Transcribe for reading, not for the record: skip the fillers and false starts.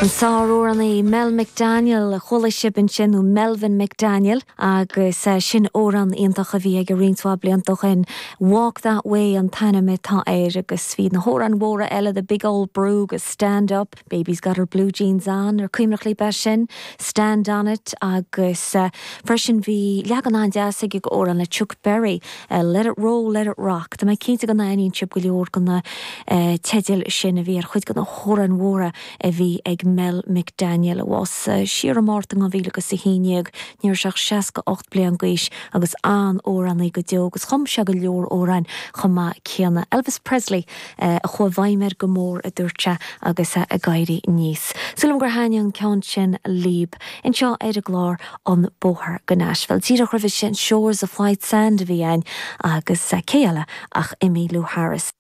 An sár-amhránaí Mel McDaniel a chuala sibh ansin, nó Melvin McDaniel, agus sin amhrán iontach a bhí aige roinnt mhaith blianta ó shin, Walk That Way an t-ainm atá air, agus bhí na hamhráin mhóra eile, The Big Old Brew agus Stand Up, Baby's Got Her Blue Jeans On, ar cuimhneach libh é sin? Stand On It, agus freisin bhí leagan an-deas aige d'amhrán le Chuck Berry, Let It Roll, Let It Rock. Tá mé cinnte go n-aithníonn sibh go leor de na teidil sin a bhí ar chuid de na hamhráin mhóra a bhí ag Mel McDaniel, a bhásaigh siar i Márta 2011. Ní raibh sé ach 68 bliain d'aois agus an-amhránaí go deo agus chum sé go leor amhráin chomh maith céanna. Elvis Presley a chuaigh i bhfeidhm air go mór, a dúirt sé agus é ag éirí aníos. Súil agam gur thaitnigh an ceann sin libh. Anseo ar an gclár An Bóthar go Nashville. Díreach roimhe sin Shores of White Sand a bhí ann agus cé eile ach Emmylou Harris.